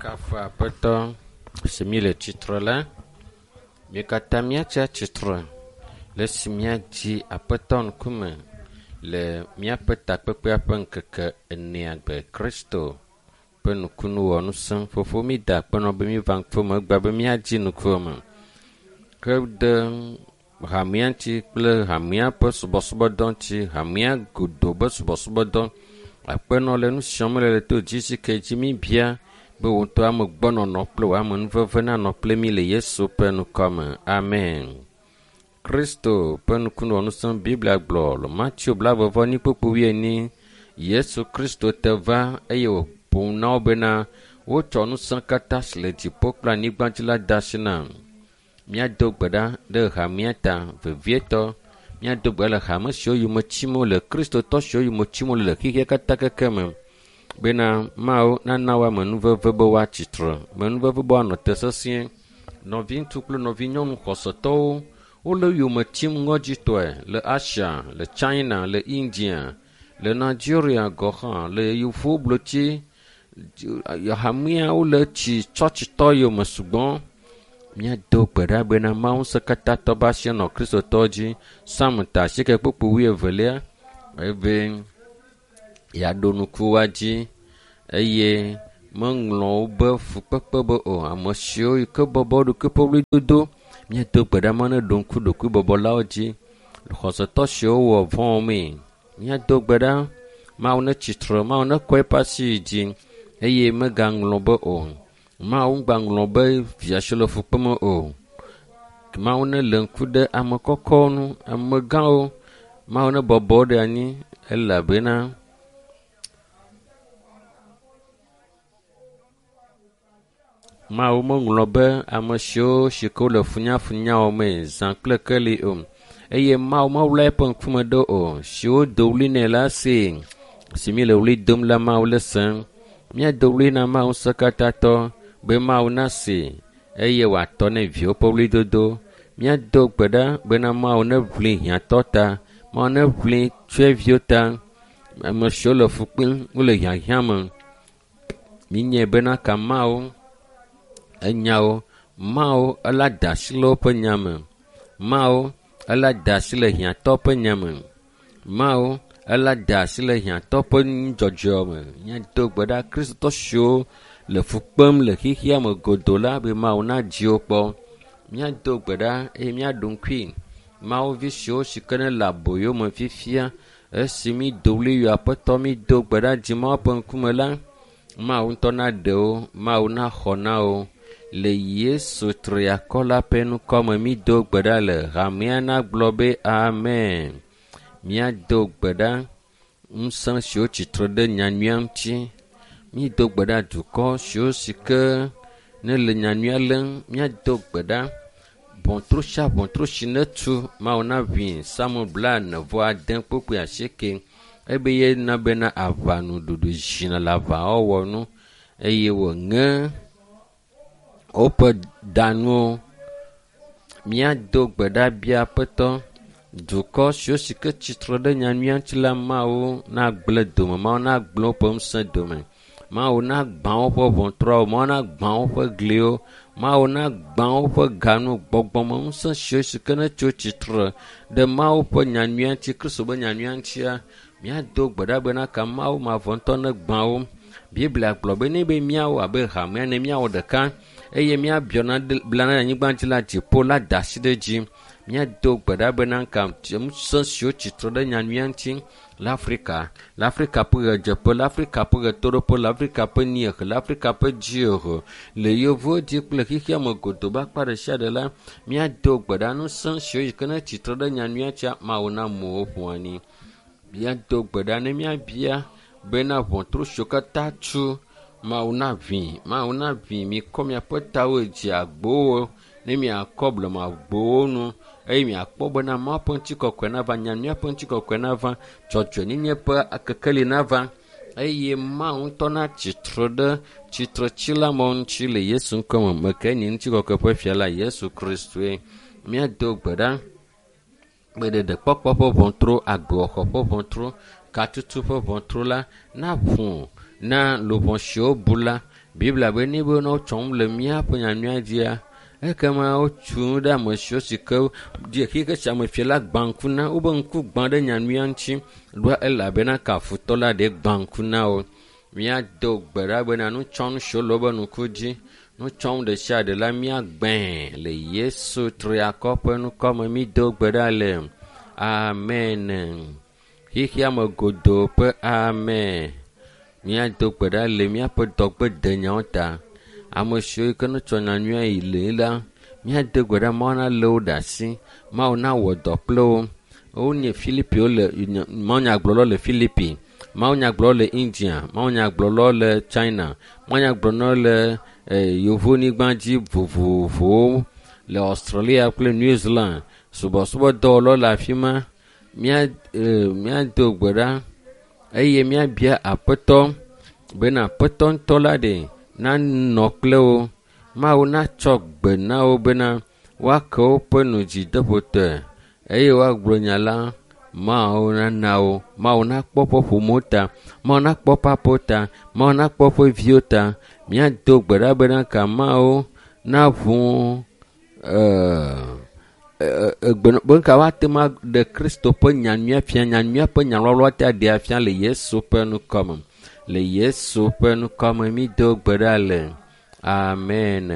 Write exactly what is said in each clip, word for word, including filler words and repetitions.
Míakafu Aƒetɔ si míele tsitre la. Mí katã míatsi atsitre le esi míadzi Aƒetɔ ŋkume le míaƒe takpekpea ƒe ŋkeke enea gbe Kristo ƒe nukunuwɔnusẽ. Fofo mída akpe nɔ be míva ŋkume egbea be míadzi ŋkume. Ke ɖe hamea ŋuti kple hamea ƒe subɔsubɔdɔ ŋuti, hamea godo be subɔsubɔdɔ. Aƒenɔ le nu siam le le to dzi si ke dzi míbia be wò ŋutɔ ame gbɔnɔnɔ kple wò amenuveve nanɔ kple mí le Yesu ƒe ŋkɔme. Amen. Kristo ƒe nukunuwɔnusẽ Biblia gblɔ le Mateo blaeve-vɔ-enyi kpukpui wuienyi. Yesu Kristo te va eye wòƒo nu na wo bena wotsɔ ŋusẽ katã si le dziƒo kple anyigba dzi la de asi nam. Míado gbe ɖa ɖe hamea ta vevietɔ. Míado gbe ɖa le hame siwo yome tsim wole, kristotɔ siwo yome tsim wole le xexea katã keke me bena Mawu nana wo amenuveve be woatsi tre, amenuveve be woanɔ te sesĩe. Nɔviŋutsu kple nɔvinyɔnu xɔsetɔwo wole yome tsim ŋɔdzitɔe le Asia, le China, le India, le Nigeria gɔ̃ hã, le yevuwoblotsi hamea wole tsi tsɔtsitɔ yome sugbɔ. Míado gbe ɖa bena Mawu ŋusẽkatãtɔ be asi nɔ kristotɔwo dzi. Psalm ta asieke kpukpui wuievelia ebe yeaɖo ŋku woa dzi eye meŋlɔ wobe fukpekpe be o. Ame siwo yi ke bɔbɔ wo ɖokui ƒe ɣlidodo. Míado gbe ɖa me ne ɖo ŋku ɖokuibɔbɔlawo dzi. Xɔsetɔ siwo wɔ vɔ̃ mee. Míado gbe ɖa Mawu netsi tre, Mawu nekɔ eƒe asi yi dzi eye megaŋlɔ be o. Mawu ŋgbaŋlɔ be via si le fu kpem o. Mawu nelé ŋku ɖe ame kɔkɔwo ŋu, amegãwo. Mawu nebɔbɔ wo ɖe anyi elabena Mawu meŋlɔ be ame siwo si ke wole funyafunya wɔmee zã kple keli o. Eye Mawu meɣla eƒe ŋkume ɖo o. Siwo do ɣli nɛ la see. Si míele ɣli dom la Mawu le sem. Míado ɣli na Mawu ŋusẽkatãtɔ be Mawu nasee eye wòatɔ ne viwo ƒe ɣlidodo. Míado gbe ɖa bena Mawu neʋli hiãtɔ ta, Mawu neʋli tsyɔ̃eviwo ta, ame siwo le fu kpem wole hiahiã me. Míenyae bena ka Mawu enya wo. Mawu ela da asi le woƒe nya me. Mawu ela da asi le hiãtɔ ƒe nya me. Mawu ela da asi le hiãtɔ ƒe nudzɔdzɔ me. Míado gbe ɖa kristotɔ siwo le fu kpem le xexea me godoo la be Mawu nadzi wo kpɔ. Míado gbe ɖa eye míaɖo ŋkui Mawu vi siwo si ke ne le aboyo me fifia esi mído ɣli yɔ Aƒetɔ mído gbe ɖa dzi Mawu ƒe ŋkume la, Mawu ŋutɔ naɖe wo, Mawu naxɔ na wo. Le Yesu triakɔ la ƒe ŋkɔme mído gbe ɖa le hamea nagblɔ be amen. Míado gbe ɖa ŋusẽ siwo tsitre ɖe nyanyuia ŋuti. Mído gbe ɖa dukɔ siwo si ke ne le nyanyuia lém. Míado gbe ɖa ʋɔtru sia ʋɔtru si netu Mawu naʋui Psalm blaene vɔ ade kpukpui asieke ebe yena bena aʋanuɖuɖu zina le aʋawɔwɔ nu eye wòŋe woƒe danuwo. Míado gbe ɖa bia Aƒetɔ dukɔ siwo si ke tsitre ɖe nyanyuia ŋuti la Mawu nagblẽ dome, Mawu nagblẽ woƒe ŋusẽ dome. Mawu nagbã woƒe ʋɔtruawo, Mawu nagbã woƒe gliwo, Mawu nagbã woƒe ganu, gbɔgbɔmeŋusẽ siwo si ke netso tsitre ɖe Mawu ƒe nyanyuia ŋuti, Kristo ƒe nyanyuia ŋutia, míado gbe ɖa bena ka Mawu mavɔ ŋutɔ negbã wo. Biblia gblɔ be ne be míawɔ abe hamea ene míawɔ ɖeka eye míabiɔ bla ɖe anyigba dzi la dziƒo la da asi ɖe edzi. Míado gbe ɖa bena ka ŋusẽ siwo tsitre ɖe nyanyuia ŋuti le Afrika, le Afrika ƒe ɣedzeƒe, le Afrika ƒe ɣetoɖoƒe, le Afrika ƒe niehe, le Afrika ƒe dziehe, le yevuwo dzi kple xexea me godoo be akpa ɖe sia ɖe la, míado gbe ɖa ŋusẽ siwo yi ke ne tsitre ɖe nyanyuia ŋutia, Mawu namu wo ƒu anyi. Míado gbe ɖa ne míabia bena ʋɔtru siwo katã tu Mawu naʋui, Mawu naʋui mikɔ miaƒe tawo dzi agbowo ne miakɔ blemagbowo nu eye miakpɔ bena Mawu ƒe ŋutikɔkɔe nava, nyanyuia ƒe ŋutikɔkɔe nava, dzɔdzɔenyenye ƒe kekeli nava eye Mawu ŋutɔ natsi tre ɖe tsitretsila mawo ŋuti le Yesu ŋkɔme. Meke nye ŋutikɔkɔe ƒe fia la Yesu Kristoe. Míado gbe ɖa be ɖeɖekpɔkpɔ ƒe ʋɔtru, agbewɔxɔ ƒe ʋɔtru, katutu ƒe ʋɔtru la naʋu na luʋɔ siwo bu la Biblia be ne be ne wotsɔm le míaƒe nyanyuia dzia, ekema wotsu nu ɖe ame siwo si ke die xixe sia me fia la gbã ŋku na wobe ŋku gbã ɖe nyanyuia ŋuti ɖoa elabena kafutɔ la ɖe gbã ŋku na wo. Míado gbe ɖa bena nutsɔnu siwo le wobe ŋku dzi, nutsɔnu ɖe sia ɖe la míagbãe le Yesu triakɔ ƒe ŋkɔme mído gbe ɖa le. Amen. Xexea me godoo ƒe amen. Míado gbe ɖa le míaƒe dɔgbedenyawo ta. Ame siwo yi ke netsɔ nyanyuia yi le la, míado gbe ɖa Mawu nalé wo ɖe asi, Mawu nawɔ dɔ kple wo. Wonye Filipiwo le mawunyagblɔlawo le Filipi, mawunyagblɔlawo le India, mawunyagblɔlawo le China, mawunyagblɔlawo le yevonyigba dzi vovovowo le Australia kple New Zealand. Subɔsubɔdɔwɔlawo le afi ma. Mía míado gbe ɖa eye míabia Aƒetɔ bena Aƒetɔ ŋutɔ la ɖe nanɔ kple wo. Mawu natsɔ gbe na wo bena woake woƒe nu dzideƒotɔe eye woagblɔ nya la. Mawu nana wo. Mawu nakpɔ woƒe ƒomewo ta. Mawu nakpɔ woƒe aƒewo ta. Mawu nakpɔ woƒe viwo ta. Míado gbe ɖa bena ka Mawu naʋu egbe be ka woate ŋu aɖe Kristo ƒe nyanyuia fia, nyanyuia ƒe nyalɔlɔ te aɖe afia le Yesu ƒe ŋkɔme. Le Yesu ƒe ŋkɔme mído gbe ɖa le. Amen.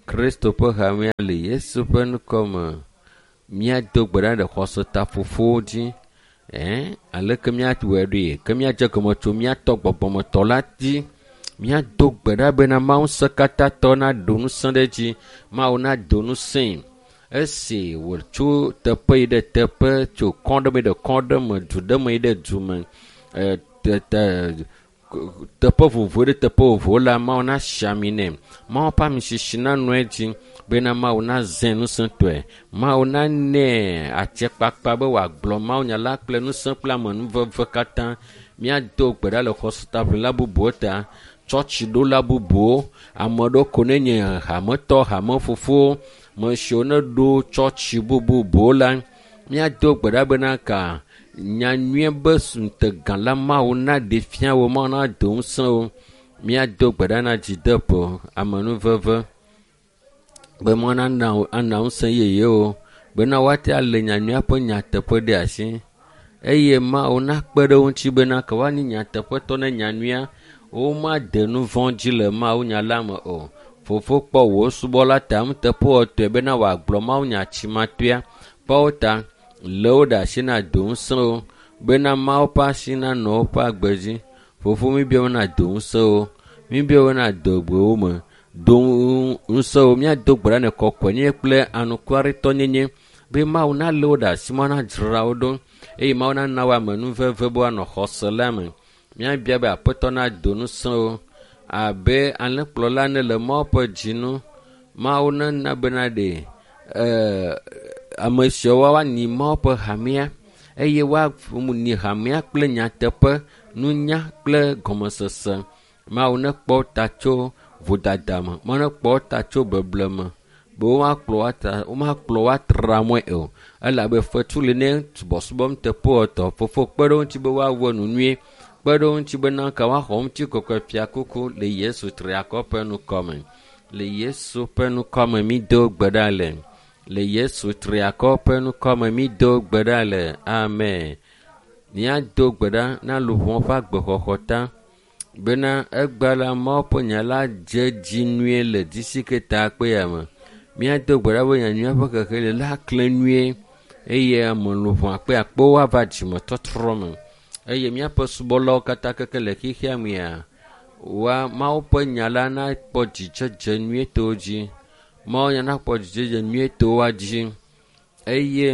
Kristo ƒe hamea le Yesu ƒe ŋkɔme. Míado gbe ɖa ɖe xɔsetafofowo dzi. Ɛɛ, aleke míawɔe ɖoe? Ke míadze gɔme tso míatɔ gbɔgbɔmetɔ la dzi. Míado gbe ɖa bena Mawu ŋusẽkatãtɔ naɖo ŋusẽ ɖe edzi. Mawu nado ŋusẽe. Esi wòtso teƒe yi ɖe teƒe, tso kɔ ɖe me yi ɖe kɔ ɖe me, du ɖe me yi ɖe du me, tete teƒe vovovo ɖe teƒe vovovo la, Mawu nasi ami nɛ. Mawu ƒe amisisi nanɔ edzi bena Mawu nazãe ŋusẽtɔe. Mawu nanɛ atsekpakpa be wòagblɔ mawunya la kple ŋusẽ kple amenuveve katã. Míado gbe ɖa le xɔsetaʋlila bubuwo ta, tsɔtsiɖola bubuwo, ame ɖewo ko nenye hametɔ, hamefofowo, me siwo neɖo tsɔtsi bububuwo la, míado gbe ɖa bena ka nyanyuie be ŋutegã la Mawu naɖe fia wo, Mawu nado ŋusẽ wo. Míado gbe ɖa na dzideƒo, amenuveve be Mawu nana ana ŋusẽ yeyewo bena woate alé nyanyuia ƒe nyateƒe ɖe asi eye Mawu nakpe ɖe wo ŋuti bena ke woanye nyateƒetɔ ne nyanyuia womade nu vɔ̃ dzi le mawunya la me o. Fofo kpɔ wò subɔla ta nuteƒewɔtɔe bena wòagblɔ mawunya tsimatoea. Kpɔ wo ta, lé wo ɖe asi na do ŋusẽ wo bena Mawu ƒe asi nanɔ woƒe agbe dzi. Fofo míbia be nado ŋusẽ wo. Míbia be nado gbe wo me. Do ŋusẽ wo. Míado gbe ɖa ne kɔkɔenyenye kple anukwaretɔnyenye be Mawu nalé wo ɖe asi, Mawu nadzra wo ɖo eye Mawu nana wo amenuveve be woanɔ xɔse la me. Míabia be Aƒetɔ nado ŋusẽ wo abe alẽkplɔla ene le Mawu ƒe dzinu. Mawu nena bena ɖe ɛɛ ame siawo woanyi Mawu ƒe hamea eye woanyi hamea kple nyateƒe, nunya kple gɔmesese. Mawu nekpɔ ta tso vodada me, Mawu nekpɔ ta tso beble me be womakplɔ woatra womakplɔ woatra mɔe o. Elabe fetu li ne subɔsubɔ nuteƒewɔtɔ. Fofo kpe ɖe wo ŋuti be woawɔ nu nyuie. Kpe ɖe wo ŋuti bena ka woaxɔ ŋutikɔkɔe fiakuku le Yesu triakɔ ƒe ŋkɔme. Le Yesu ƒe ŋkɔme mído gbe ɖa le. Le Yesu triakɔ ƒe ŋkɔme mído gbe ɖa le. Amen. Míado gbe ɖa na luʋɔ ƒe agbexɔxɔ ta bena egbea la Mawu ƒe nya la dze dzi nyuie le disiketa kpea me. Míado gbe ɖa be nyanyuia ƒe xexlẽ la klẽ nyuie eye ame luʋɔ akpe akpewo ava dzimetɔtrɔ me. Eye míaƒe subɔlawo katã keke le xexea mea, woa Mawu ƒe nya la nakpɔ dzidzedze nyuietɔwo dzi. Mawu nya nakpɔ dzidzedze nyuietɔwo dzi eye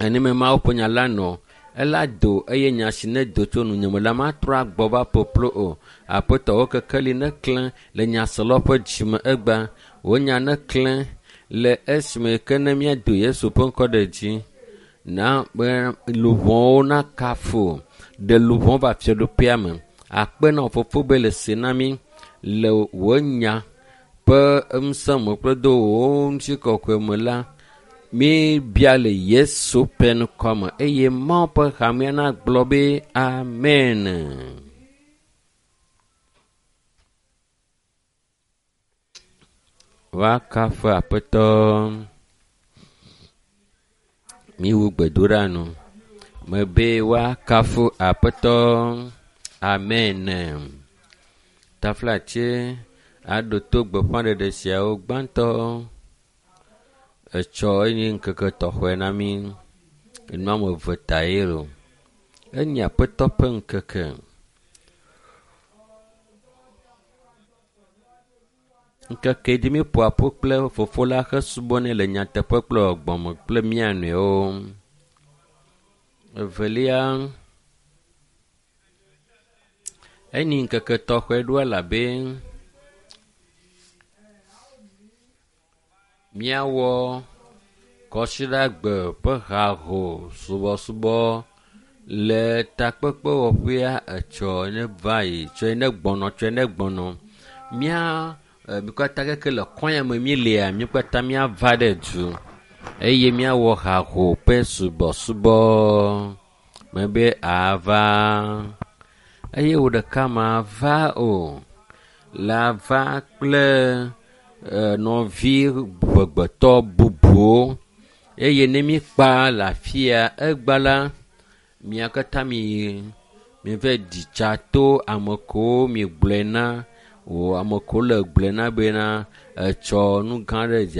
enime Mawu ƒe nya la nɔ ela do eye nya si nedo tso nunye me la matrɔ agbɔ va ƒoƒlo o. Aƒetɔ wo kekeli neklẽ le nyaselawo ƒe dzime egbea. Wò nya neklẽ le esime ke ne míado Yesu ƒe ŋkɔ ɖe dzi na be luʋɔwo nakafu ɖe luʋɔ va fiaɖuƒea me. Akpe na fofo be le se na mí le wò nya ƒe ŋusẽ me kple do wò ŋutikɔkɔe me la, míbia le Yesu ƒe ŋkɔme eye Mawu ƒe hamea nagblɔ be amen. Woakafu Aƒetɔ. Míwu gbedoɖa nu. Mebe woakafu Aƒetɔ. Amen. Taflatse aɖo to gbeƒãɖeɖe siawo gbãtɔ. Etsɔ enye ŋkeke tɔxɛ na mí. Enu ame eve ta ye lo. Enye Aƒetɔ ƒe ŋkeke. Ŋkeke dzi míeƒoa ƒu kple Fofo la hesubɔnɛ le nyateƒe kple gbɔgbɔme kple mía nɔewo. Evelia, enyi ŋkeke tɔxɛ ɖo elabe míawɔ kɔsiɖagbe ƒe haho subɔsubɔ le takpekpewɔƒea etsɔ ne va yi tsɔe ne gbɔnɔ tsɔe ne gbɔnɔ. Mía mi katã keke le kɔnya me míelea, mi katã míava ɖe du eye míawɔ haho ƒe subɔsubɔ. Mebe ava eye wò ɖeka mava o. La va kple nɔvi ʋegbetɔ bubuwo eye ne míkpa le afia egba la, mia katã mi miva ɖi tsa to ame kewo miegblɔe na o ame kewo le gblɔe na bena etsɔ nu gã aɖe dze.